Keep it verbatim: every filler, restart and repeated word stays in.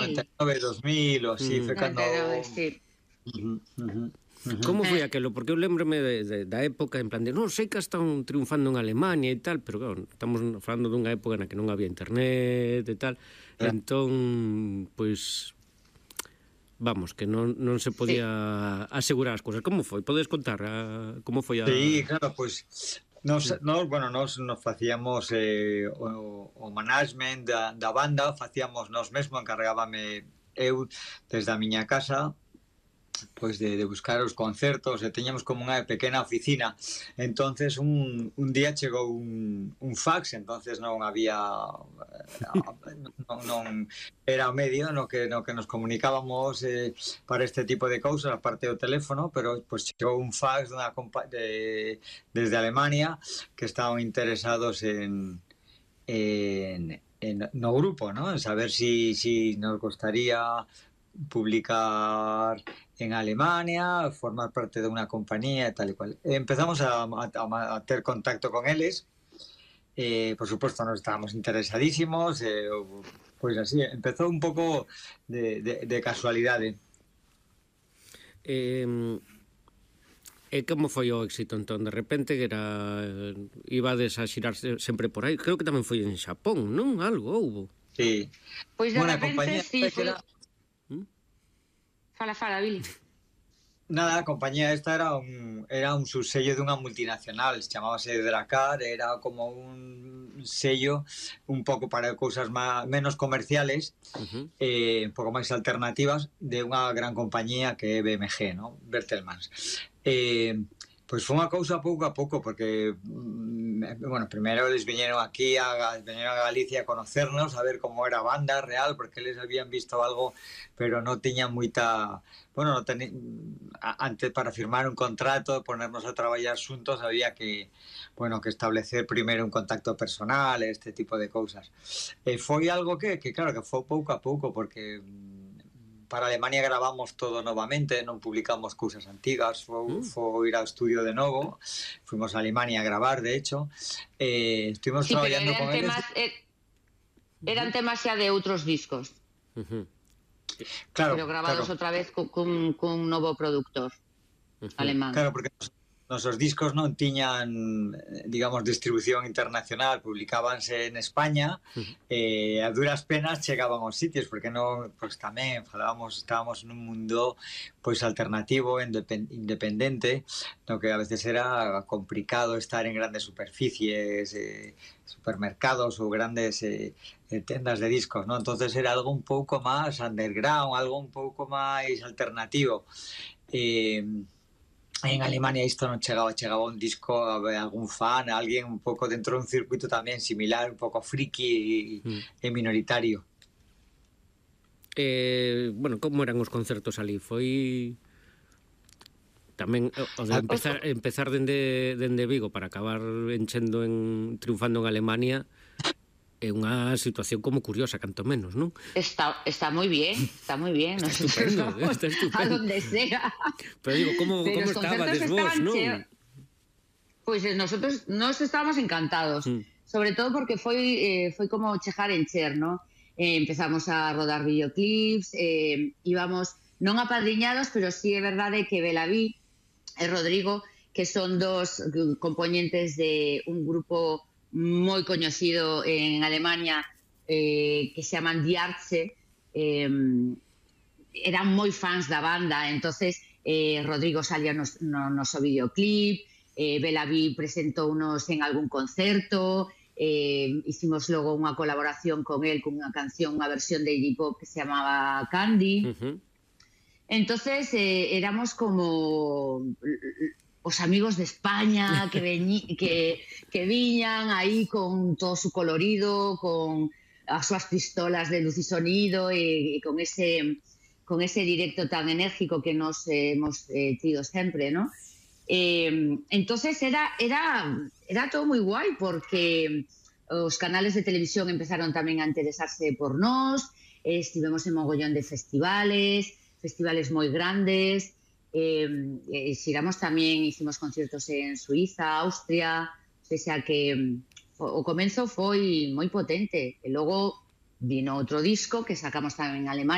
noventa e nove, dos mil, ou así, foi cando... noventa e nove, sí. Uh -huh, uh -huh. Uh-huh. Como foi aquelo? Porque eu lembrome de, de, da época en plan de non sei que están triunfando en Alemania e tal, pero claro, estamos falando dunha época na que non había internet e tal, yeah. Entón, pois vamos, que non, non se podía sí. asegurar as cousas. Como foi? Podes contar a, como foi a... Sí, claro, pois nos, nos, bueno, nos, nos facíamos eh, o, o management da, da banda, facíamos nos mesmo, encargábame eu desde a miña casa pois de, de buscar os concertos e teñamos como unha pequena oficina. Entonces un, un día chegou un, un fax, entonces non había non, non era o medio no que, no que nos comunicábamos eh, para este tipo de cousas, aparte do teléfono, pero pois chegou un fax dunha de, desde Alemania que estaban interesados en en, en no grupo, ¿no? En saber si, si nos gustaría publicar en Alemania, formar parte de unha compañía e tal e cual. Empezamos a, a, a ter contacto con eles, eh, por suposto nos estábamos interesadísimos, eh, pois así, empezou un pouco de, de, de casualidade. Eh, e como foi o éxito entón? De repente que era ibades a xirar sempre por aí, creo que tamén foi en Xapón, non? Algo houbo. Sí. Pois de repente, sí, foi... Fala, fala, Billy. Nada, a compañía esta era un era un subsello dunha multinacional, chamábase Dracar, era como un sello un pouco para cousas má, menos comerciales, uh-huh. eh, un pouco máis alternativas de unha gran compañía que é B M G, ¿no? Bertelsmann. Eh, pois foi unha cousa pouco a pouco, porque bueno, primeiro eles viñeron aquí a, viñeron a Galicia a conocernos, a ver como era a banda real, porque eles habían visto algo, pero non tiñan moita, bueno, no ten... antes para firmar un contrato, ponernos a traballar xuntos, había que, bueno, que establecer primeiro un contacto personal, este tipo de cousas. E foi algo que, que claro, que foi pouco a pouco, porque para Alemania gravamos todo novamente, non publicamos cousas antigas, foi, foi ir ao estudio de novo, fuimos a Alemania a gravar, de hecho, eh, estuvimos sí, traballando con temas, eles. Eh, eran temas xa de outros discos, uh-huh. Claro, pero gravados claro. outra vez cun, cun, cun novo productor uh-huh. alemán. Claro, porque nosos discos non tiñan, digamos, distribución internacional, publicábanse en España, uh-huh. eh, a duras penas chegaban aos sitios, porque non, pois tamén falábamos, estábamos nun mundo pois alternativo, independente, no que a veces era complicado estar en grandes superficies, eh, supermercados ou grandes eh, tendas de discos, ¿no? Entonces era algo un pouco máis underground, algo un pouco máis alternativo. Eh, En Alemania isto non chegaba, chegaba un disco a algún fan, a alguén un pouco dentro dun circuito tamén similar, un pouco friki e, mm. e minoritario. Eh, bueno, como eran os concertos ali? Foi tamén o de empezar, empezar dende, dende Vigo para acabar enchendo en, triunfando en Alemania é unha situación como curiosa, canto menos, non? Está, está moi bien, está moi bien. Está estupendo, está estupendo. A donde sea. Pero digo, como, como estabades vos, non? Pois pues nosotros nos estábamos encantados, mm. sobre todo porque foi eh, foi como chegar en Cher, non? Eh, empezamos a rodar videoclips, eh, íbamos non apadriñados, pero sí é verdade que Belaví e Rodrigo, que son dos componentes de un grupo moi coñecido en Alemania eh, que se llaman Die Ärzte, eh, eran moi fans da banda, entonces eh, Rodrigo salía no, no noso videoclip, eh, Belaví presentounos en algún concerto, eh, hicimos logo unha colaboración con él con unha canción, unha versión de Iggy Pop que se chamaba Candy. Uh-huh. Entonces eh, éramos como os amigos de España que, veñi, que, que viñan aí con todo su colorido, con as súas pistolas de luz e sonido e, e con ese con ese directo tan enérgico que nos eh, hemos eh, tido sempre, ¿no? Eh, entonces era, era, era todo moi guai porque os canales de televisión empezaron tamén a interesarse por nós, eh, estivemos en mogollón de festivales, festivales moi grandes. Eh, eh, xiramos tamén, hicimos conciertos en Suiza, Austria, o sea que o, o comenzo foi moi potente e logo vino outro disco que sacamos tamén en Alemania.